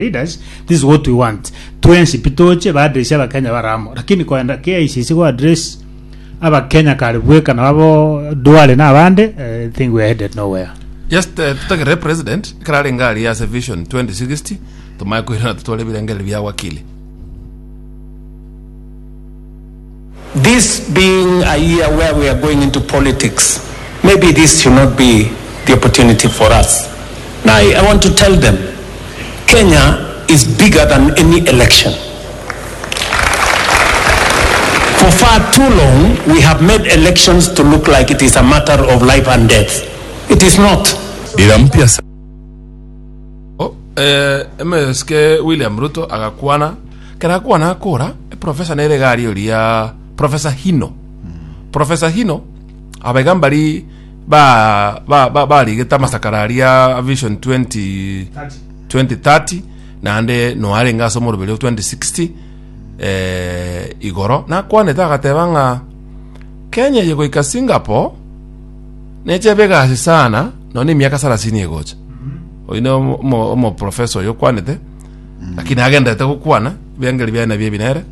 Leaders, this is what we want. Twensi pi toche ba address abakenya bare amo. Lakini koenda KICC go address abakenya kare bweka na babo Duale na abande, eh, I think we are headed nowhere. Just eh, totegerere president ekero arenge aria ase vision 2060 tomanye koirana totware ebirengererio bia wakili This being a year where we are going into politics, maybe this should not be the opportunity for us. Now, I, I want to tell them Kenya is bigger than any election. For far too long, we have made elections to look like it is a matter of life and death. It is not. Dira mpya sa. Oh, eh, MSK William Ruto agakwana kera akwana akora professor nere gari oria professor Hino professor Hino abaiga mbari ba ba ba barigete amasakara aria vision 20 2030 naende no arenge ase omoroberi o 2060 eh, igoro nakwanete agateba ng'a Kenya eye goika Singapore Nechebe egasi sana nonya emiaka sarasini egocha. Oyio ne omo- omo- omoprofesa oyo okwanete, lakini agenderete gokwana, ebiangeri biaye nabio ebi nere.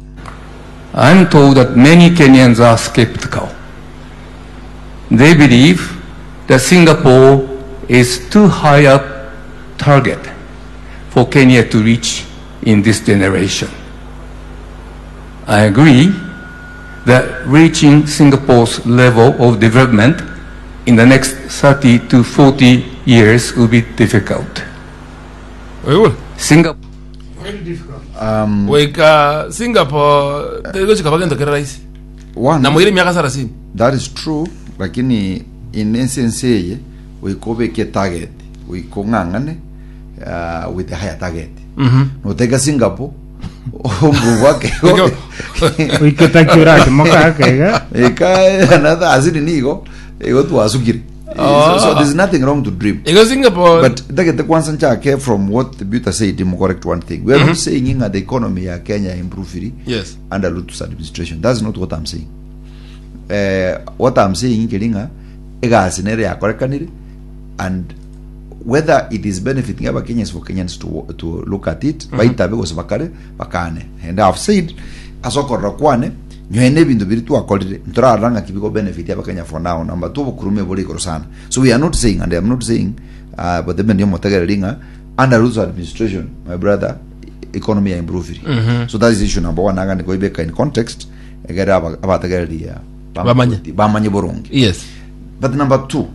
I'm told that many Kenyans are skeptical. They believe that Singapore is too high a target for Kenya to reach in this generation. I agree that reaching Singapore's level of development in the next 30 to 40 years will be difficult. Oigure? Singapore Goika Singapore tegochika bagento kere rahisi. One, Namoire emiaka sarasini. that is true lakini in ense ense eye goika obeke target goika ong'ang'ane uh, with the higher target noteka Singapore Oike taki orakimoka ake iga. Eka another asiri nigo igo twasukire. So, so there's nothing wrong to dream. Igo Singapore But ndagete kwanza nchake from what the Buta said mu correct one thing. We are not saying that the economy ya Kenya improve Yes. under Ruto's administration. That's not what I'm saying. Eh, what I'm saying nkeri ng'a egasi nere yakorekanire and whether it is benefiting abakenyans for Kenyans to, to look at it baitabe gose bakare bakane and I've said ase okorora kwane nyoe na ebinto biri twakorire ntorarora ng'aki bigo benefit abakenya for now number two obokurume bore igoro sana so we are not saying and I'm not saying uh, but the men yomotegereri ng'a under Ruto's administration my brother economy ya improve so that is issue number one agane koibeka in context egere aba- abategereria Bamanye. bamanye boronge Yes. but number two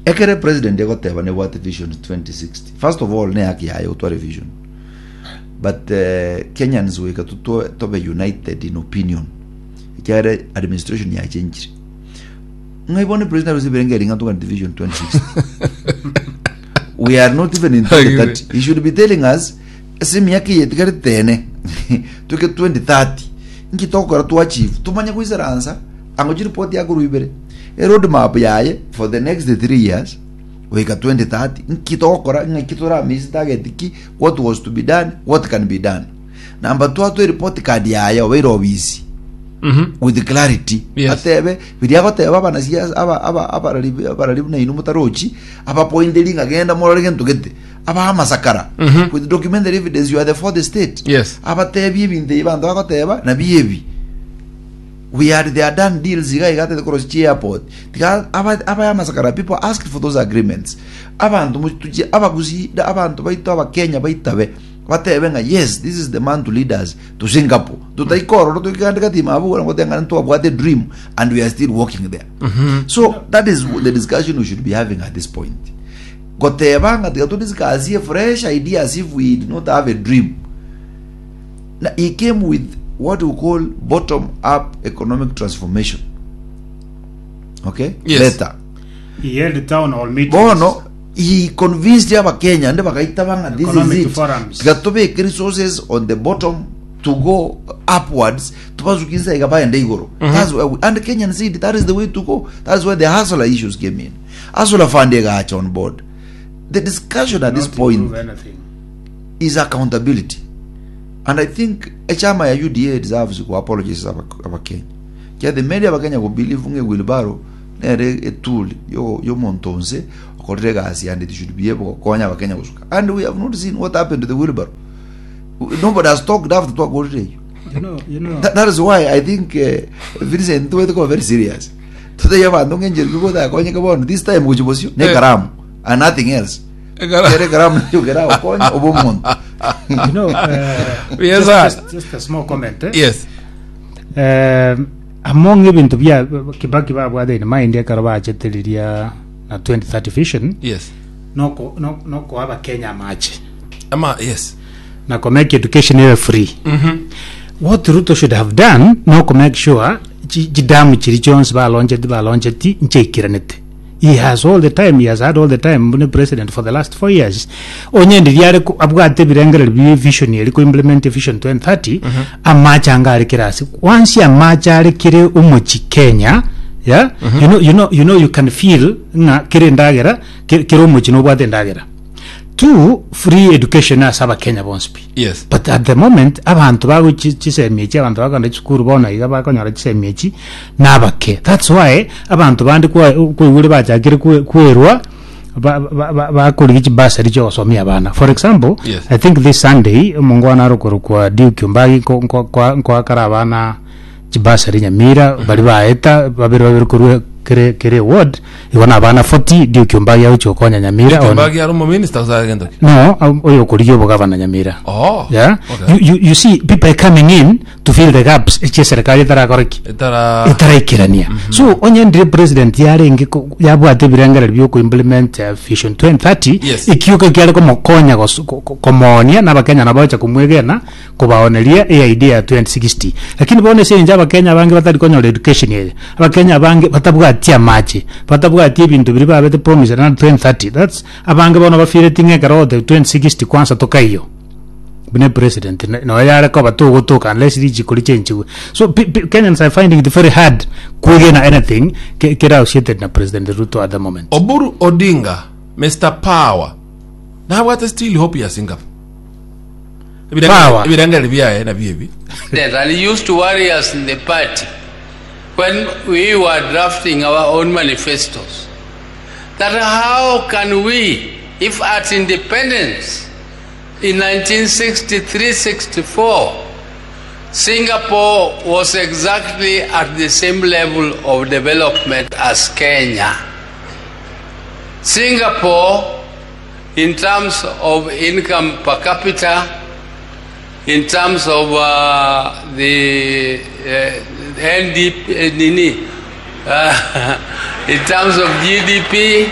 Ekere president egoteba nebwate vision 2060 first of all ne haki yaye gotwara vision but eh, Kenyans goika tutwe tobe united in opinion ekiagera administration yachenchire ng'ai bono president aruse ebirengo eri ng'a togani vision 2060 we are not even in 2030 he should be telling us ase emiaka eye etigarete ene toike 2030 nki togokora to achieve tomanye goisaransa Ang'o chiripoti yakorwa ibere, eroad map yaye for the next 3 years goika 2030 nki togokora ng'aki toramiss target ki what was to be done what can be done number 2 atoe report card yaye obeire obisi with clarity Yes. atebe biria agoteba abanasiasa aba aba abarari abarari buna inwe motarochi abapointeri ng'a genda morore gento gete abaha amasakara with documentary evidence you are the fourth state Yes. abatebie ebinto ebi abanto bagoteba nabio ebi We had their done deals iga iga atete korosia chi airport tiga aba abaye amasakara people asked for those agreements abanto motuchie abagusii da abanto baito abakenya baitabe batebe ng'a yes this is the man to lead us to Singapore totaika ororo toike kande gati abwo na goteba ng'a ntwabwate dream and we are still walking there so that is the discussion we should be having at this point goteba ng'a tiga to discuss fresh ideas if we do not have a dream Na he came with what we call bottom up economic transformation. Okay? Yes. Later. He held town hall meetings. Bono he convinced abakenya ande bagaitaba ng'a this is Economic it. forums. Tiga tobeke resources on the bottom to go upwards tubasukinsa iga baende igoro. That's where we, and Kenyan said that is the way to go. That's where the hustler issues came in. Hustler fund egacha on board. The discussion at this Not point improve anything. is accountability and I think echama ya UDA deserves go apologize aba abakenya kia the media abakenya go believe ng'e wheelbarrow nere etool yo yomonto onse. Twakorire egasi and it should be able gokonya abakenya gosuka. And we have not seen what happened to the wheelbarrow. Nobody has talked after twakorire eyio. You know, you know. That, that is why I think uh, Vincent tuwete kuba very serious. Tuteye abanto ng'encheri kigotagakonyeka bono this time gochi bosio ne Eh. karamu and nothing else. Ekaramu. Kere karamu nayo keragokonya obe omonto. You know, Yes, just, sir. just, just a small comment. Eh? Yes. Among ebinto bia Kibaki babwate in mind ekero bachete riria na 2030 vision Yes. noko no- nokoa abakenya amache Ama yes. na ko make education ebe free what Ruto should have done noko make sure chi- chidamu chiri chionsi baloncheti baloncheti nchaikiranete he has all the time he has had all the time buna president for the last 4 years onye ndiria are ko- abwate ebirengererio bie vision eri ko implement vision 2030 amache anga are kera ase once amache are kere omochi Kenya yeah you know you know you know you can feel ng'a kere endagera ke- kere omochi nobwate endagera two free education ase abakenya bonsi pi Yes. but at the moment abanto bago chisemi echi abanto bakogenda chisukuru bono iga bakonyora chisemi echi nabake that's why abanto bande kwaigure bachakire kwerwa bakorigia chibasari chiogosomia abana for example Yes. i think this sunday omongwana arokorokwa Duke Ombagi nkoakara abana chibasari Nyamira bari baeta babere babere korwa kere kere ward igo na abana 40 Duke Ombagi agochia gokonya Nyamira on- Mbagi ari omominister gose are gento ki? no oyo okorigia obogavana Nyamira Oh. yeah Okay. you, you, you see people are coming in to fill the gaps echi serikali etarakora ki Etara etaraikerania so onye ndire president yarenge yabwate ebirengereri bia okoimplement vision 2030 Yes. ekioka kiare komokonya komonia na abakenya nabo bacha komwegena kobaoneria eidea ya 2060 lakini bono ase eng'encho abakenya abange batari konyora education eye abakenya abange batabwati amache batabwati ebinto biria babete promise na 2030 that's abange bono bafireti ng'a ekero ogotebi 2060 kwanza tokaiyo buna president noyo yare koba togotoka unless richiko richenchigwe so Kenyans are finding it very hard kwegena anything kere associated na President Ruto at the moment. Oburu Odinga, Mister Power, nabwate still hope ya Singapore. Power. Ebirengererio biaye nabio ebi. And he used to worry us in the party when we were drafting our own manifestos. That how can we, if at independence in 1963-64, Singapore was exactly at the same level of development as Kenya. Singapore, in terms of income per capita, in terms of the NDP, nini, in terms of GDP,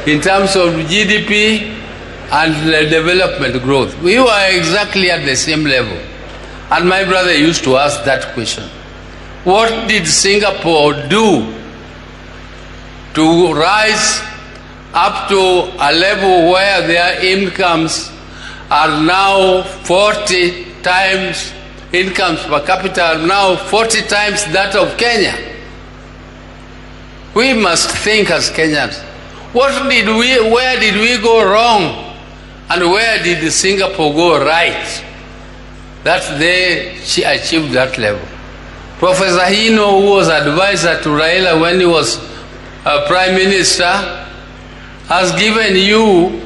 in terms of GDP and the development growth, we were exactly at the same level. And my brother used to ask that question. What did Singapore do to rise up to a level where their incomes are now 40 times, incomes per capita are now 40 times that of Kenya? We must think as Kenyans. Where did we go wrong? And where did Singapore go right? That they achieved that level. Professor Hino, who was advisor to Raila when he was Prime Minister, has given you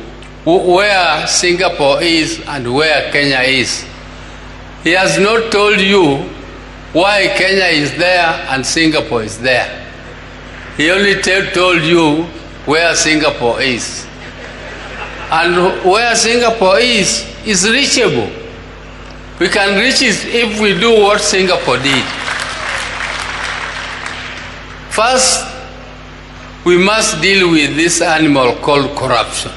where Singapore is and where Kenya is. He has not told you why Kenya is there and Singapore is there. He only told you where Singapore is. And where Singapore is, is reachable. We can reach it if we do what Singapore did. First, we must deal with this animal called corruption.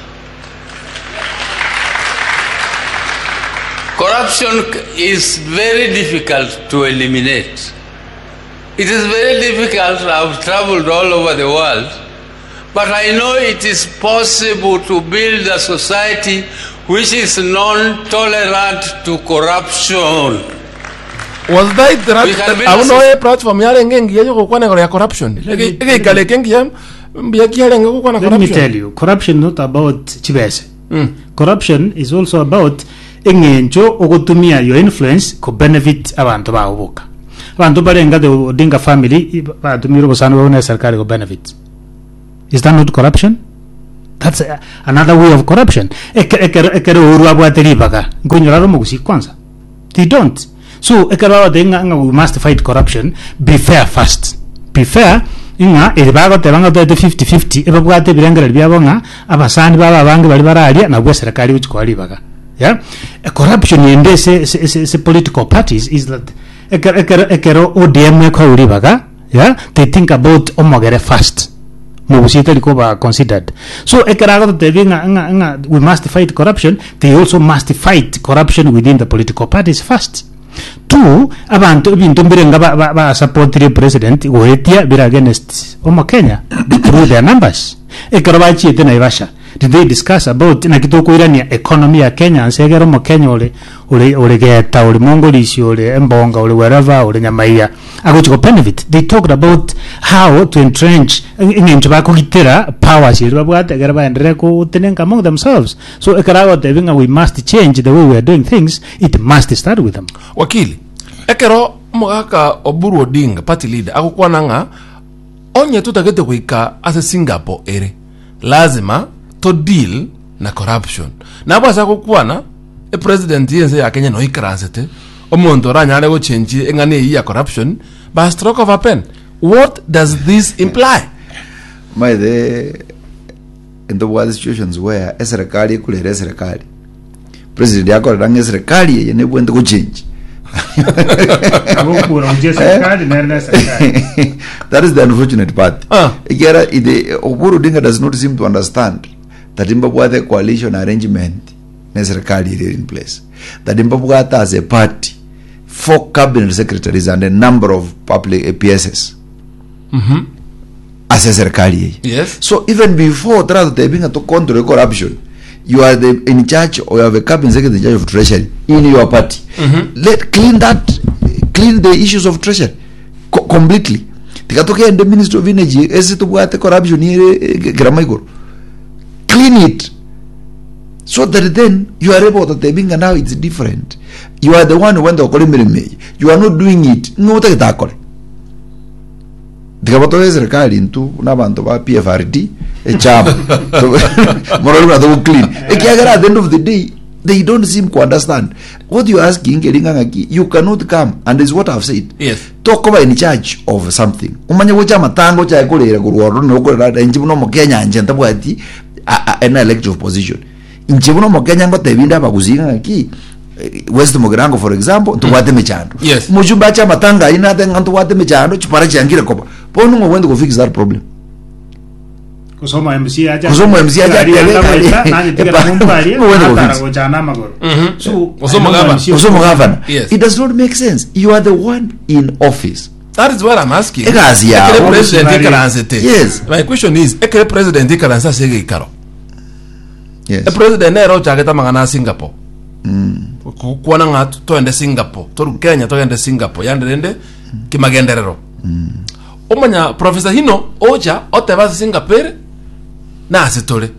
Corruption is very difficult to eliminate. It is very difficult. I've traveled all over the world, but I know it is possible to build a society which is non-tolerant to corruption. Was that We can build a abo noe platform yarenge engiya yogokwana igoro ya corruption egeikaro eke engiya mbuya kiarenge gokwana Let me corruption tell you, corruption not about chibese. Corruption is also about eng'encho ogotumia your influence ko benefit abanto bao boka. Abanto barenga the Odinga family batumire obosani bwabo na serikali ko benefit. Is that not corruption? That's another way of corruption. Eke- Ekero ekero Uhuru abwate ribaga, nkonyora are omogusii kwanza. They don't. So ekero bagoteba ng'a ng'a we must fight corruption, be fair first. Be fair ng'a eri bagoteba ng'a toete 50 50 ebabwate ebirengererio biabo ng'a abasani babo abange baria bararia nabwo eserekari egochi koa ribaga. Yeah? E corruption ende ase ase ase ase political parties is that ekero ekero ekero ODM ekoewa ribaga yeah, they think about omogere first. Mogusie tari koba considered. So ekero agototebia ng'a ng'a ng'a we must fight corruption, they also must fight corruption within the political parties first. Two, abanto ebinto mbire nga ba, ba, ba supportire president goetia bire against omokenya through their numbers. Ekero bachiete Naivasha, did they discuss about naki tokoirania economy ya Kenya nse egere omokenya ore ore ore geta ore mongorisi ore embonga ore wherever ore nyamaiya agochi go benefit they talked about how to entrench eng'encho bakogitera powers eria babwate ekero baenderere gotenenka among themselves so ekero agotebi ng'a we must change the way we are doing things it must start with them Wakili, ekero omogaka Oburu Odinga, party leader, agokwana ng'a onye totagete goika ase Singapore ere, lazima to deal na corruption. Nabo ase agokwana, epresident y'ense ya Kenya noikaransete, omonto oranyare gochenchia eng'ana eyio ya corruption by stroke of a pen. What does this imply? Maete ntobwate situations where eserekari ekurera eserekari president akorera ng'a eserekari eye nebwente gochange Agokura gochia eserekari nere na eserekari. that is the unfortunate part Ah. ekiara the Oburu Odinga does not seem to understand that mbabwate coalition arrangement na eserekari ere in place that mbabwate as a party four cabinet secretaries and a number of public eh, PSs ase eserekari eye Yes. so even before taragotebi ng'a to control corruption you are the in charge or you have a cabinet secretary in charge of treasury in your party let clean that clean the issues of treasury co completely tiga togende ministry of energy ase tobwate corruption ere eh, kerama igoro clean it so that then you are able to tebi ng'a now it's different you are the one who went gokora emeremo eye you are not doing it ng'o otagete akore Tiga batoe eserekari intwe buna abanto ba PFRD echama morore buna togo clean ekiagera at the end of the day they don't seem to understand what you are asking eri ng'a ng'aki you cannot come and is what I've said Yes. tokoba in charge of something omanye gocha amatanga ochae korera korwa ororo na okorera inche buna omokenya inche ntabwati a- a- an elective position Inche buna omokenya ngotebi inde abagusii ng'a ng'aki eh, West Mugirango for example ntobwate emechando. Yes. Omochumba ache amatanga ayio nate ng'a ntobwate emechando chipara chiangire koba. Bono ng'o ogwente go fix that problem? Gose MC acha Gose omo MC acha Gari atebe yanda gari- goeta, nanye tigera epa- mombarie, Ng'o ogwente go natara fix? gocha na amagoro. So, Gose I know omogavana. MC Gose omogavana. Yes. It does not make sense. You are the one in office. That is what I'm asking. Egasi yao. Ekere president Bari- ikaransete. Yes. My question is, ekere president ikaranse ase egeikaro. Yes. Epresident nere ochagete amang'ana a Singapore. Gokwana ng'a toende Singapore, toru Kenya togende Singapore, yande rende kimagenderero. Omanya Professor Hino ocha oteba ase Singapore ere na ase tore.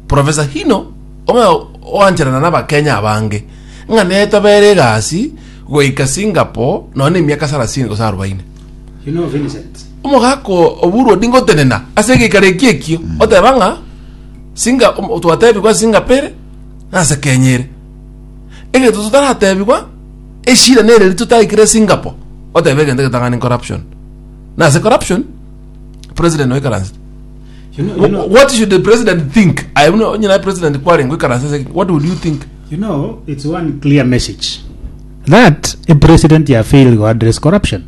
Professor Hino omanya oancherana na abakenya abange ng'a netobere egasi goika Singapore nonya na emiaka sarasini gose arobaini. You know Vincent. Omogaka Oburu Odinga otenena ase egeikaro ekio ekio oteba ng'a Singa twatebigwa Singapore na ase Kenya ere. Egento totaratebigwa eshida nere eri totaikire Singapore otebe egento egetang'ani corruption. Na ase corruption president oikaransete. You know, you know, What should the president think? Aye buna onye naye president kwarenge oikaranse ase what would you think? you know, it's one clear message that a president ya fail go address corruption.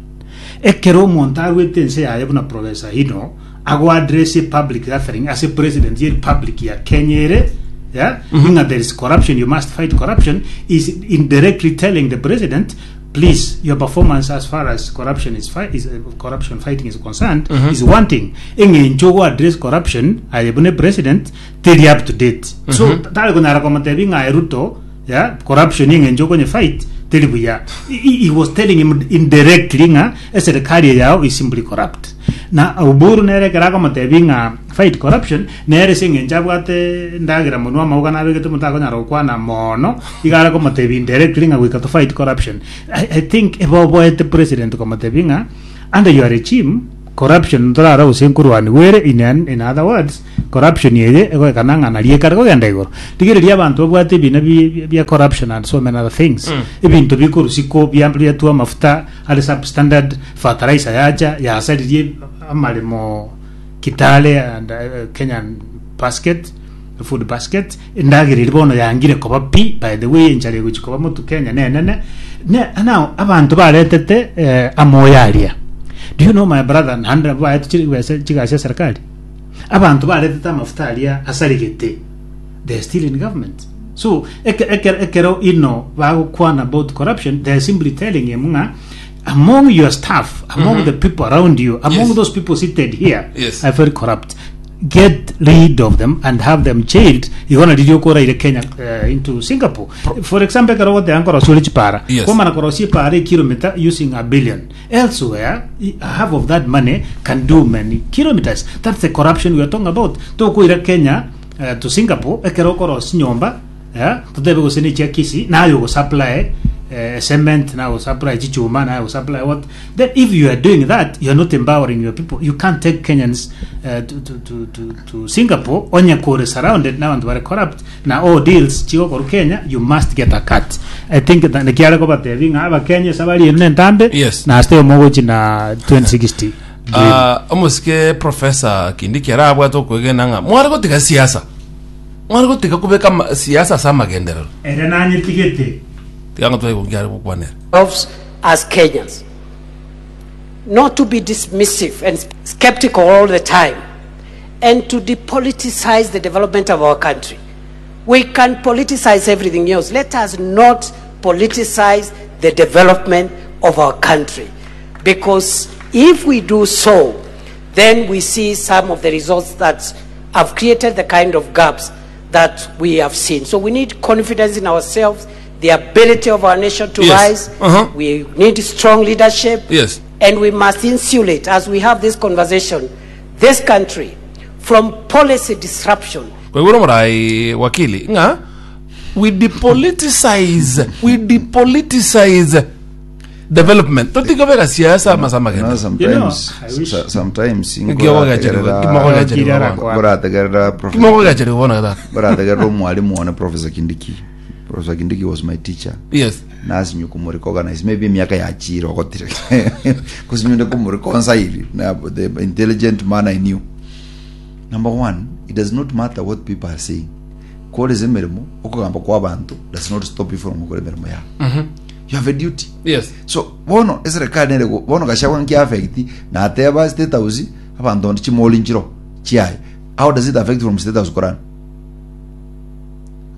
Ekero omonto arwete ense yaye buna Professor Hino ago address a public gathering ase president ye republic ya Kenya ere yeah, ng'a there is corruption you must fight corruption is indirectly telling the president please your performance as far as corruption is, fi is uh, corruption fighting is concerned is wanting eng'encho go address corruption aye buna president teri up to date so tari konyara komotebi ng'a aye Ruto Yeah, corruption eng'encho okonye fight teri buya. He, he was telling him indirectly ng'a eserikali eye yao is simply corrupt. Na Oburu nere ekero akomotebi ng'a fight corruption nere ase eng'encho abwate endagera monwe amauga nabegete omonto akonyara gokwana mono iga are komotebi indirectly ng'a goika to fight corruption. I, I think eboboete president komotebi ng'a under your regime. Corruption ntorara gose nkorwaniwa ere in, in other words corruption eye egoekana ng'a nari ekare kogenda igoro. Rigereria abanto babwate ebina bi- bia corruption and so many other things. Ebinto bikorusikwo bia biatwa amafuta are substandard, fertilizer yacha yasaririe amaremo Kitale and Kenyan basket, food basket, endagera eria bono yangire koba pi, by the way enchara egochi koba motu Kenya nenene, ne now abanto baretete eh, amoyo aria. Do you know my brother, naende nabo baetwe chibesa chigasi ya serikali, abanto baretete amafuta aria asarigete, they are still in government. So eke- ekero ekero ino bagokwana about corruption, they are simply telling him ng'a among your staff, among the people around you, among Yes. those people seated here Yes. are very corrupt. Get rid of them and have them jailed. Igona riria okoraire Kenya into Singapore. For example, ekero ogoteba nkorosia ore chipara. Yes. Kwamana korosia epara ekilomita using a billion. Elsewhere, half of that money can do many kilometers. That's the corruption we are talking about. Tokoira Kenya to Singapore ekero okorosia nyomba Eh, totebe gose ne chia Kisii, naye ogosupply eh, cement, naye ogosupply chichuma, naye ogosupply what. Then if you are doing that, you are not empowering your people. You can't take Kenyans eh, to Singapore onye kore surrounded n'abanto bare corrupt na all deals chigokorwa Kenya, you must get a cut. I think that nekiare kobatebi ng'a abakenya ase abari ere nentambe Yes. na ase omogochi na 2060 dream. Ah, omosike professor Kindiki arabwate okwegena ng'a mware gotiga siasa Mware gotiga kobeka ama- siasa ase amagenderero. Ere nanyetigete. Tiga ng'a twaigo nkiare gokwanera. ourselves as Kenyans. Not to be dismissive and skeptical all the time, and to depoliticize the development of our country. We can politicize everything else. Let us not politicize the development of our country. Because if we do so, then we see some of the results that have created the kind of gaps that we have seen. So we need confidence in ourselves, the ability of our nation to Yes. rise. We need strong leadership. Yes. And we must insulate, as we have this conversation, this country from policy disruption. Kwaigure omorai wakili ng'a we depoliticize we depoliticize development totiga beka siasa ama ase You know, amagena sometimes, You know, I wish- sometimes Kimogogacherigwa- ngorategerera kimogogacherigwa bono gatatu ngorategerera omwalimu one Professor Kindiki. Professor Kindiki was my teacher. Yes. Nasinyu kumurecognize maybe emiaka yachire ogotire kusinyunde kumureconcile na the intelligent man I knew. Number one, it does not matter what people are saying. Koresa emeremo okogamba kwa abanto does not stop you from gokora emeremo yao. You have a duty. Yes. So bono eserekari nere go- bono Gachagua nki affect nateba state house abanto onde chimoli nchiro chiaye. How does it affect from state house korana?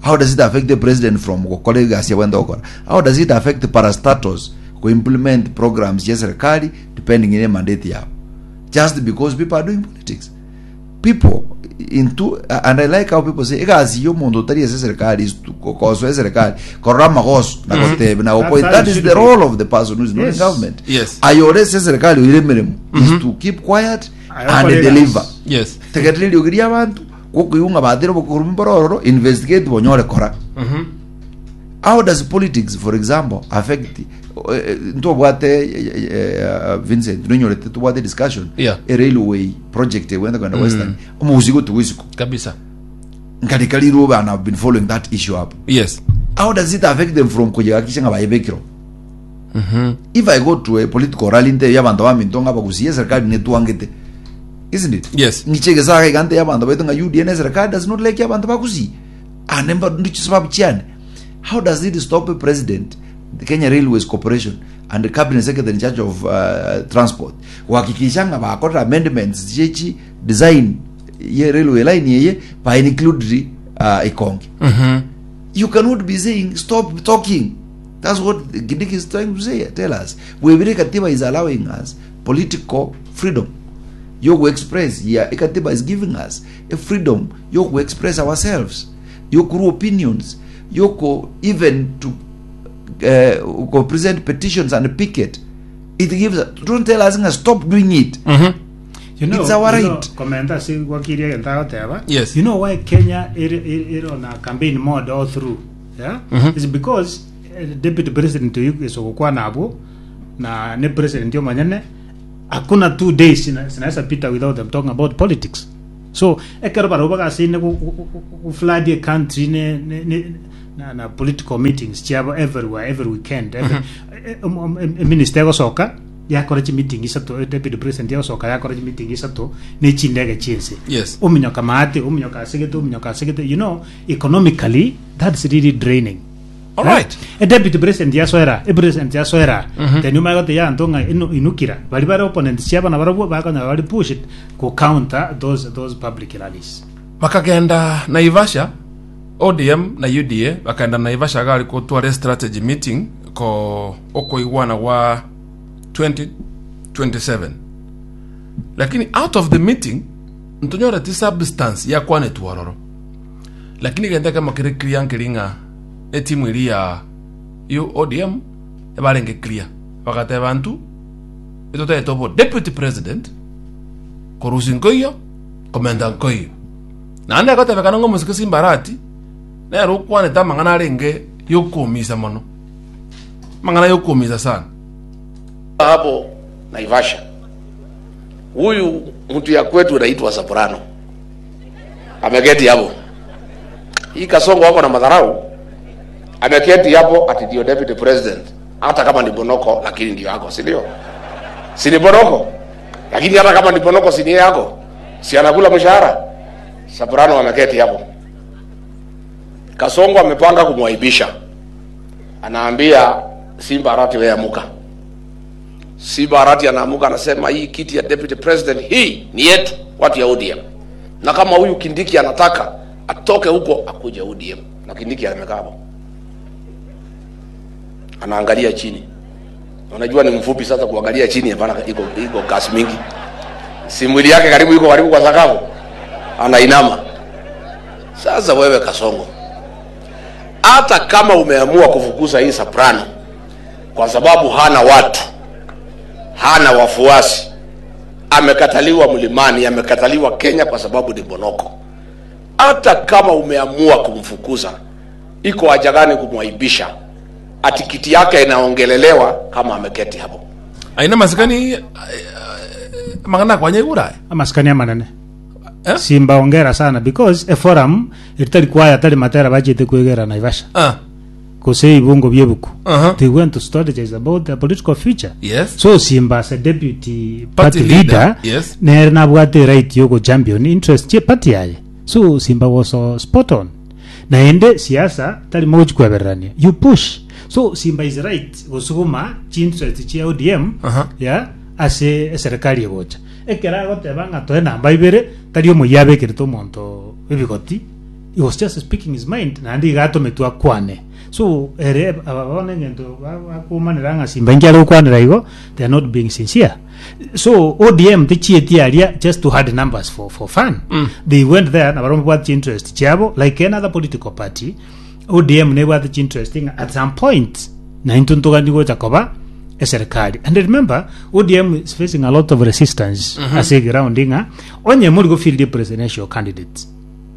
How does it affect the president from gokora egasi abwenerete gokora? How does it affect parastatals go implement programs chia serikali depending ne mandate yabo? Just because people are doing politics. People into and I like how people say egasi ya omonto otari ase serikali is to gosoa eserikali korora amagoso na gotebe na That's gopoint. how That it is should the be. role of the person who is not in Yes. government. Yes. Aye ore ase eserikali oire emeremo is to keep quiet Aye and okore deliver. egasi. Yes. Tegerera eriogi ri'abanto, gokoigwa ng'a batire obokorumi mbore ororo, investigate bonyore kora. How does politics, for example, affect eh, ntobwate eh, eh, Vincent nonyorete tobwate discussion Yeah. e railway project egwenda kwenda western omogusi gotuga isiko Kabisa. nkarika rirobe and I've been following that issue up. Yes. How does it affect them from kuyehakikisha ng'a baebekirwe? If I go to a political rally nte abanto baminto ng'a bagusie eserikali netwangete isn't it? Yes. Ngiche egesaga iga nte abanto baito ng'a UDA na eserikali does not like abanto bagusie ande mba ndiche sababu chiane. How does it stop a president, the Kenya Railways Corporation and the cabinet secretary in charge of transport kuhakikisha ng'a bakorire amendments chiechi design ye railway line eye ba include ikonge? You cannot be saying stop talking. That's what Kindiki is trying to say, tell us. Webire katiba is allowing us political freedom. Yoku express, yeah, katiba is giving us a freedom yoku express ourselves, yoku opinions, yoku even to go present petitions and picket. It gives us, don't tell us nga stop doing it. You know, It's our you know, right. komenta ase gwakirie egento agoteba. Yes. You know why Kenya ere on a campaign mode all through? Yeah? It's because eh, deputy president oyo ase ogokwana abwo na ne president omonyene Hakuna 2 days zinaweza pita without them talking about politics. So ekero barabwo bagasaine go flood a country ne, ne, ne, na, na political meetings chiabo everywhere every weekend every, minister egosoka yakora chimeeting isato deputy president yagosoka yakora chimeeting isato ne chindege chiense ominyoka maate ominyoka asegete ominyoka asegete you know economically that's really draining All right. Eh, deputy president yasoera e president yasoera then omanye gotebia abanto ng'a inu- inukira bari bare opponents chiabo nabarobwo bakonyora bari pushed go counter those those public rallies Bakagenda Naivasha, ODM na UDA bakagenda Naivasha gari gotwara strategy meeting ko okoigwana gwa 2027 lakini out of the meeting ntonyoreti substance yakwanetwe ororo Lakini gento ekemo kere clear nkeri ng'a etimu eria ya U ODM ebarenge clear bagateba ntu etotagete obo deputy president korusia nkoiyo komenta nkoiyo naende egotebekana ng'a omosike Simba Arati nere okwanete amang'ana arenge yokoumisa mono amang'ana yokoumisa sana. Hapo Naivasha huyu mtu ya kwetu anaitwa Soprano ameketi hapo. Hii Kasongo wako na madharau, ameketi hapo ati ndio deputy president, hata kama ni Bonoko lakini ndio yako, si ndio? Si ni Bonoko, lakini hata kama ni Bonoko si ni yako, si anakula mshahara. Soprano ameketi hapo. Kasongo amepanga kumwaibisha, anaambia Simba Arati, wewe amuka. Simba Arati anaamuka anasema, hii kiti ya deputy president hii ni yetu watu ya ODM, na kama huyu Kindiki anataka atoke huko akuje ODM. Na Kindiki amekaa hapo anaangalia chini, unajua ni mfupi sasa, kuangalia chini hapana, iko iko kasi mingi, si mwili yake karibu iko karibu kwa sakafu, anainama. Sasa wewe Kasongo, hata kama umeamua kufukuza hii Soprano kwa sababu hana watu, hana wafuasi, amekataliwa mlimani, amekataliwa Kenya kwa sababu ni Bonoko. Hata kama umeamua kumfukuza, iko haja gani kumwaibisha? Ati kiti yake inaongelelewa kama ameketi hapo. Aina masikani mang'ana akwanya igure aye. Amasikani amanene. Eh? Simba ongera sana because eforum eritari kwaya tari matera bachete kwegera Naivasha. Ah. Gose ebibungo biebuku. Uh-huh. They went to strategize about their political future. Yes. So Simba as a deputy Party party, leader, leader, yes. nere nabwate right yogo champion interest chie party yaye. So Simba was spot on. Naende siasa tari mogochikwebererania. You push. So Simba is right gosuguma chinterest chia ODM Aha. yeah, ase eserekari egocha. Ekero agoteba ng'a toe namba ibere tari omoyio abekerete omonto ebigoti he was just speaking his mind naende iga atometwe akwane. So ere aba bono engento bakomanera ng'a Simba inki are gokwanera igo they are not being sincere. So ODM techieti aria just to add numbers for, for fun. They went there na barabwo babwate interest chiabo like any other political party. ODM nebwate chinterest ng'a at some point naintwe ntogani gocha koba eserikali. And remember ODM is facing a lot of resistance ase eground ng'a onye mori gofield presidential candidates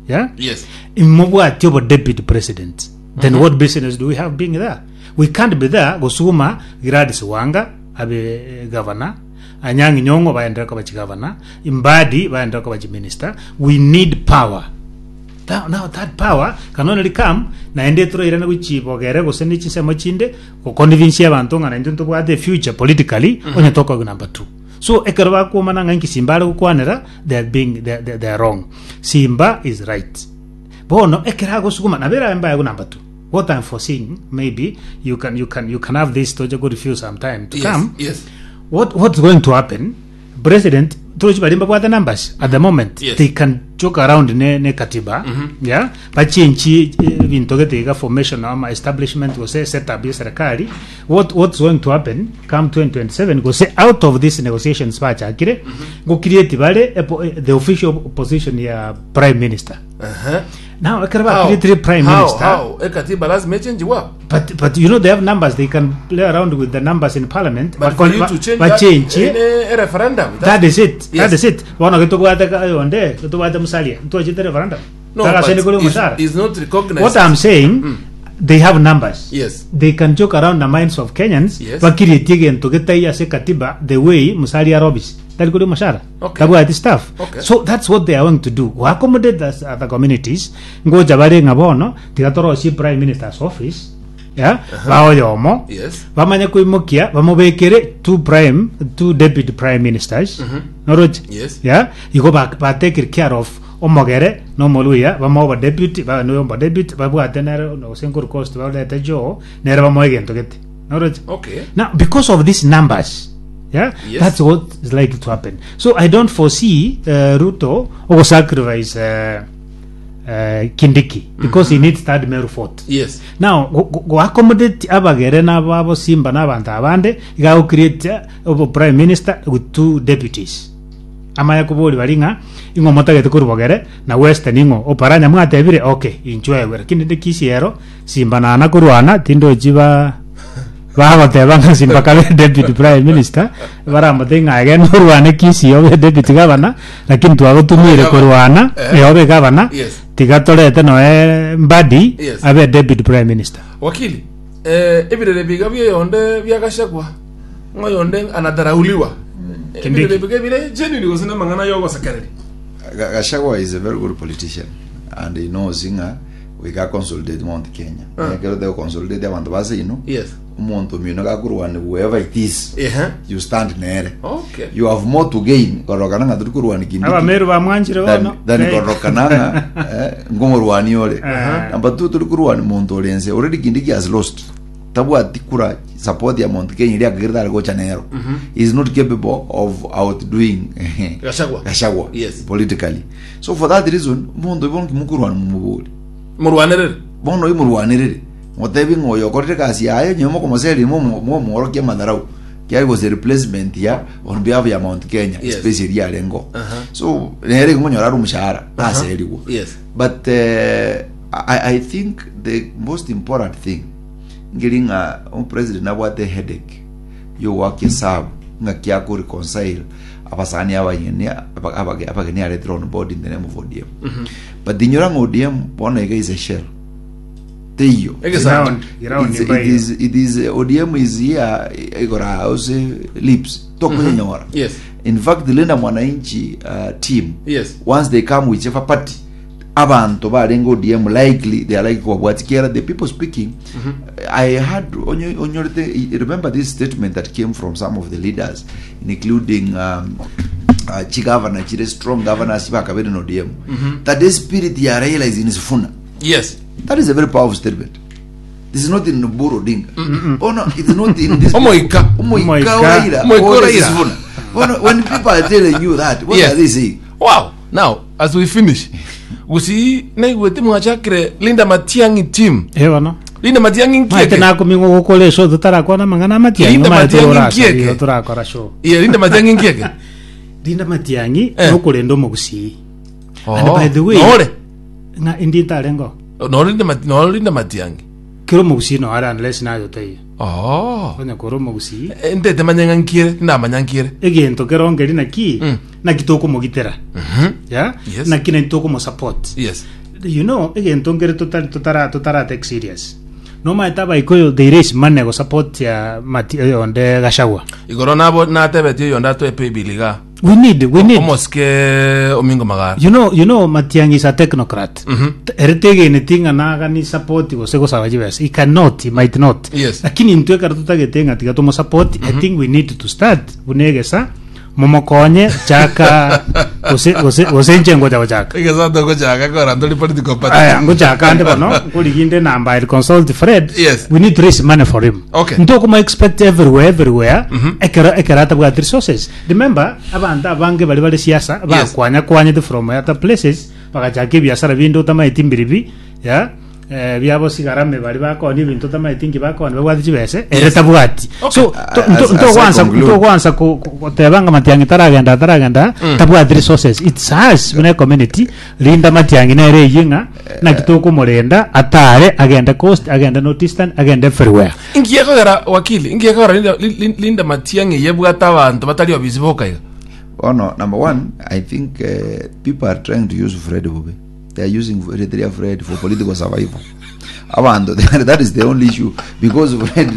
yeah? Yes. Imobwati obo deputy president then what business do we have being there we can't be there gosuguma Gladys Wanga abe eh, governor Anyang'i Nyong'o baenderere koba chigavana Mbadi baenderere koba chiminister we need power Now, now that power can only come naende toroirane gochibogere gose ne chinsemo chinde goconvince abanto ng'a naintwe ntobwate future politically onye tokoigwa number two so ekero bakomana ng'a inki Simba are gokwanera they are being they, they, they are wrong Simba is right bono ekero agosuguma nabo erabe mbaye go number two what I'm foreseeing maybe you can you can you can have this toche go review sometime to Yes. come Yes. what what's going to happen president torochi bari mbabwate numbers at the moment Yes. they can joke around ne, ne katiba yeah bachenchi ebinto gete iga formation ama establishment gose setup ya serikali what what's going to happen come 2027 gose out of these negotiations bachakire go create bare epo- eh, the official position ya prime minister Uh-huh. now ekero How? ba create prime How? minister How? Ekatiba lazima echenjiwa. But but you know they have numbers. They can play around with the numbers in parliament. But for you to change that bachenche in a referendum. that is it. Yes. That is it. Bono getobwate yonde getobwate Musalia ntwachete referendum. No, Tagaseni but kuri it's, omushara. it's not recognized. What I'm saying. They have numbers. Yes. They can joke around the minds of Kenyans Yes. bakirietie egento getai ase katiba the way Musalia Arobis tari koria omoshara Okay. tabwati staff Okay. so that's what they are going to do go accommodate the other communities ngocha bare ng'a bono tiga torosie prime minister's office yeah, baoyomo Yes. bamanye koimokia bamobekere two prime two deputy prime ministers noroche Yes. yeah igo ba, ba take care of omogere na omoluya bamoe obodeputy babe noyo obodeputy babwate nere gose nkoru coast barete Joho nere bamoe egento gete noroche Okay. now because of these numbers yeah Yes. that's what is likely to happen so i don't foresee uh, ruto ogosacrifice uh, uh, kindiki because he needs that meru fort Yes. now go- go go accommodate abagere na abo simba na abanto abande iga go create obo prime minister with two deputies Amanye koboria baria ng'a ing'o motagete korwa bogere na western ing'o oparanya mwatebire okay inchwe egwe lakini rende kisii ero simba nana korwana tindochi ba bagoteba ng'a simba kabe deputy prime minister baramotebie ng'a egene orwane kisii obe deputy governor lakini twagotumire korwana Eh. eh, obe governor Yes. tiga torete noe Mbadi Yes. abe deputy prime minister Wakili, eh, ebirere biga bioyonde biagachagwa Ng'a oyonde anadharauliwa. Kindiki. Ebirere biga bire genuine gose namang'ana yogosekereria. Ga- Gachagua is a very good politician and he knows ng'a goika consolidate Mount Kenya. Ah. Ekero te consolidate abanto base ino Yes. omonto omino gakorwani whoever it is Ehe. you stand nere. Okay. You have more to gain korokana ng'a tori korwani Kindiki. abameru bamwanchire than, bono than Eh. korokana ng'a eh, ngomorwani ore. Eh. Number two tori korwani monto ore ense already Kindiki has lost. Tabwati kura support ya Mount Kenya iria akagera tare gocha nero. He is not capable of outdoing Gachagua. Gachagua Yes. politically. So for that reason, omonto oyo bono kimokworwana momobori. Morwanerere. Bono oyo morwanerere. Motebi ng'a oyo okorire egasi yaye nyowe mokomoseria momworokia amadharau. Kiari gose replacement ya on behalf ya Mount Kenya Yes. space eria arengo. Aha. So nere ngonyora ari omoshahara taserigwa. Yes. But I, I think the most important thing Nkeri ng'a omopresident nabwate headache yogoaka esabu ng'aki ako reconcile abasani abanyene aba- abage- abageni aretire on board in the name of ODM. But inyora ng'a ODM bono iga is a shell. Teiyo. Egesanto. Ground, ground It's, it imbayo. is, it is, ODM is here igora house lips tokonyenyora. Yes. In fact, the Linda Mwananchi team Yes. once they come whichever party abanto barenge ODM likely they are like kobwati kiera the people speaking I had onye- onyorete remember this statement that came from some of the leaders including um, chigavana chire strong governors bakabere in ODM that the spirit ya Raila is in Sifuna Yes. that is a very powerful statement this is not in Oburu Odinga oh no it's not in this Omoika. Omoika Omoika. wa Raila Omoika wa Or is Raila. Sifuna Bono, when people are telling you that what Yes. are they saying Wow. Now, as we finish, gusii naigwete mwachakire Linda Matiang'i team. Eh bono. Linda Matiang'i Maete nkieke. nakoming'wa gokora eshow totarakwana amang'ana amatiang'i Linda omanyete Matiang'i orasa nkieke. igo torakora show. Iye Linda Matiang'i nkieke. Linda Matiang'i Eh. nokorenda omogusii. And Oh. by the way- Nore. Ng'a indi ntarengo. Nore Linda Mati- nore Linda Matiang'i. Kera omogusii no are unless naye otaiyo. Oh. Onye kore omogusii Eh, Ntete manye ng'a nkiere, tindamanya nkiere. egento kerongeri naki Mm. naki tokomogitera yeah? Yes. naki naki tokomosupport Yes. you know egento nkere totari totara totara take serious nomaete abaikoyo they raise money go support ya mati eh, onde gachagua Igoro nabo natebetie oyonde atoe paybill iga. we need we need Omosike Omingo Magara. you know you know Matiang'i is a technocrat T- ere tegeneti ng'a nagani support gose gosaba chibesa he cannot he might not Yes. lakini intwe ekero totagete ng'a tiga tomosupport i think we need to start buna egesa momokonye chaka gose gose gose inche ngocha gochaka Egesa togochaka kora ntori political party. Aya, ngochaka ande bono nkoriginde enamba I'll consult Fred Yes. we need to raise money for him Okay. ntokoma expect everywhere everywhere ekero ekero atabwati resources remember abanto abange bari bare siasa bakwanya kwanyete from other places bagachaka ebiasara binde otamaeti mbiribi yeah eh, biabo sigarame bari bakonia ebinto otamaeti nki bakonia babwate chibese ere tabwati so As- as I ntogwansa conclude- ntogwansa goteba ng'a matiang'i taragenda taragenda tabwati resources it's us buna community rinda matiang'i nere eyio ng'a naki tokomorenda atare agende coast agende north eastern agende everywhere Inki ekogera wakili, inki ekogera Linda, Lin- Linda Matiang'i yebwate abanto batari obisi boka iga. Bono, number one, I think uh, people are trying to use Fred Bube. They are using Eritrea Fred for political survival. Abanto that is the only issue because Fred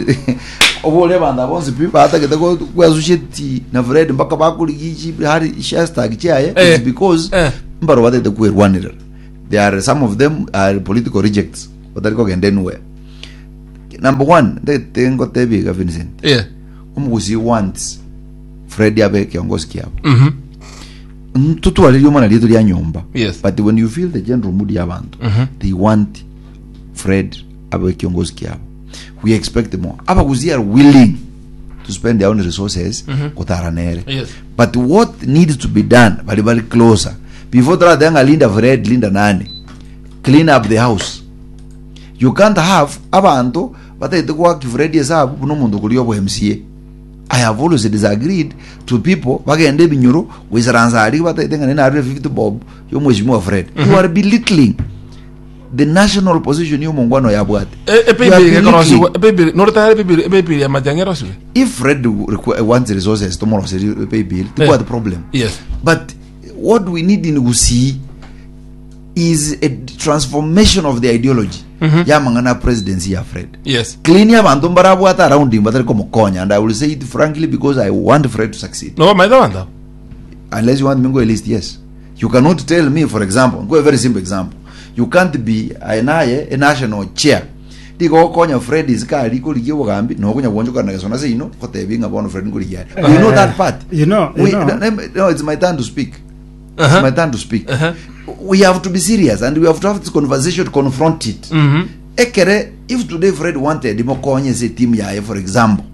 obore abanto aba bonsi pi batagete go associate na Fred mpaka bakorigi chi hari hashtag chiaye Eh. it's because Eh. mbaro batagete kwerwanirera. There are some of them are political rejects batari kogenda anywhere. Number one, ndagete ngotebi iga Vincent. Yeah. Omogusii wants Fred abe kiongozi kiabo. Ntotware riomana rietu ria nyomba. Yes. But when you feel the general mood ya abanto, they want Fred abe kiongozi kiabo. We expect more. Abagusii are willing to spend their own resources gotara nere. Yes. But what needs to be done bari bari closer. Before tratanga ng'a linda Fred, linda nani. Clean up the house. You can't have abanto batagete goaka Fred esabu buna omonto okoria obo MCA. I have always disagreed to people bagende ebinyoro goisaransa aria batagete ng'a narure 50 bob ya omweshimiwa Fred. You are belittling the national position ya omongwana oyo abwate. You are Epaybill belittling. ekorosiwa epaybill noretare epaybill epaybill ya matiang'i erosiwe If Fred wants resources tomoroserie paybill tibwate problem. Yes. But what we need in Gusii is a transformation of the ideology yamang'ana a presidency ya Fred. Yes. Clean abanto mbarabwate around him batari komokonya and I will say it frankly because I want Fred to succeed. No bamaete abanto abo. Unless you want me go a list, yes. You cannot tell me, for example, go a very simple example. You can't be naye a national chair. Rigo gokonya Fred isika ari korigia obogambi nokonya gwonchokana gesona seino gotebi ng'a bono Fred nkorigia are. We know that part. You know, you We, know. no, no, it's my turn to speak. It's my turn to speak. We have to be serious and we have to have this conversation to confront it. Ekere, if today Fred wanted mokonye se team yaye for example,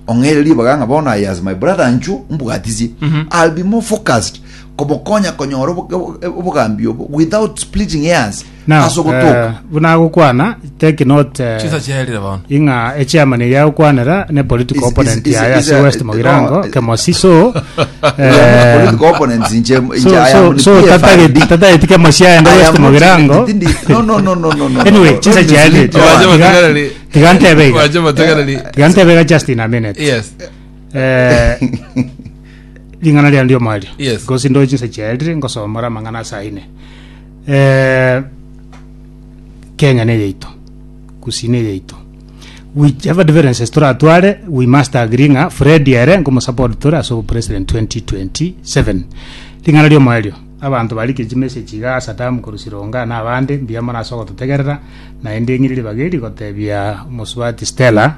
ong'ere ribaga ng'a bono aye as my brother nchu mbwatisie, I'll be more focused komokonya konyora obogambi obo without splitting hairs Now, ase ogotoka. buna agokwana take note Chisa chiaerire bono. ing'a echairman eria agokwanera ne political opponent yaye ase West Mogirango no, Kemosi so We are not political opponents inche so inche I so am so PFRD. tatageti tatageti Kemosi aende I West am not- Mogirango no no no no no no anyway no, chisa don't chiaerire mislead Wache your- mategereri. tiga ntebe iga Wache mategereri. tiga ntebe iga just in a minute Yes. Ring'ana riane ri'omoerio. Yes. Gose ndoche chinsa chiaerire ngosomora amang'ana ase aine. Eh, Kenya ne yaito. Gusii ne yaito. Whichever differences toratware, we must agree ng'a Fred ere nkomosupport tore ase obopresident 2027. Ring'ana ri'omoerio, abanto barikire chimessage iga ase Adamu korwa Sironga na abande, mbuya mono ase ogototegerera, naende ng'ire ribaga eri gotebia omosubati Stella,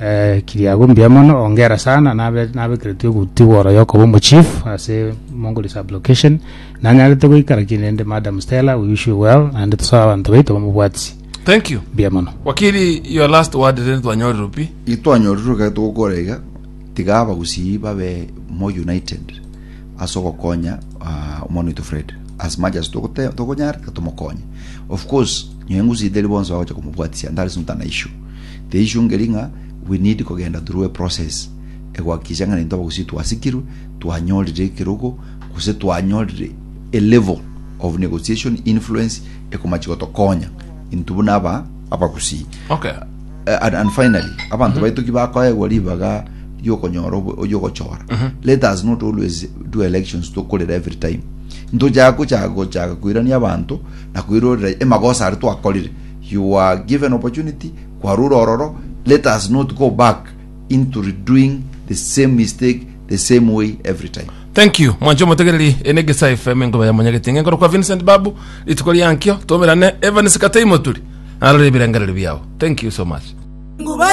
Eh, Kiriago mbuya mono, ongera sana, nabe nabekeretwe eguti igoro yokoba omochief ase Mongoli sub-location, nanyarete goikara ki rende Madam Stella, we wish you well, naende tosabe abanto baito bamobwatisi. Thank you. Mbuya mono. Wakili, your last word rende twanyorire pi. Itwanyorire ekero togokora iga, tiga abagusii babe more united ase ogokonya ah, omwana oito Fred as much as togote tokonyara tiga tomokonye. Of course, nyowe ngusii teri bonsi bagocha komobwatisia and that is not an issue. The issue nkeri ng'a we need kogenda through a process egohakikisha ng'a intwe abagusii twasikirwe, twanyorire ekerogo, gose twanyorire a level of negotiation influence ekomachi gotokonya intwe buna aba abagusii. Okay. And, and finally abanto baito ki bakoegwa ribaga riokonyora obo- riogochora let us not always do elections tokorera every time ntochaka gochaka gochaka koirania abanto na koirorera emagoso aria twakorire You are given opportunity kwarure ororo let us not go back into redoing the same mistake the same way every time. Thank you mwanche omotegereri ene Gesa FM enkoba ya monyagetinga enkoro kwa Vincent Babu rituko ria nkio tomerane Evans Katei Moturi narore ebirengererio biao thank you so much.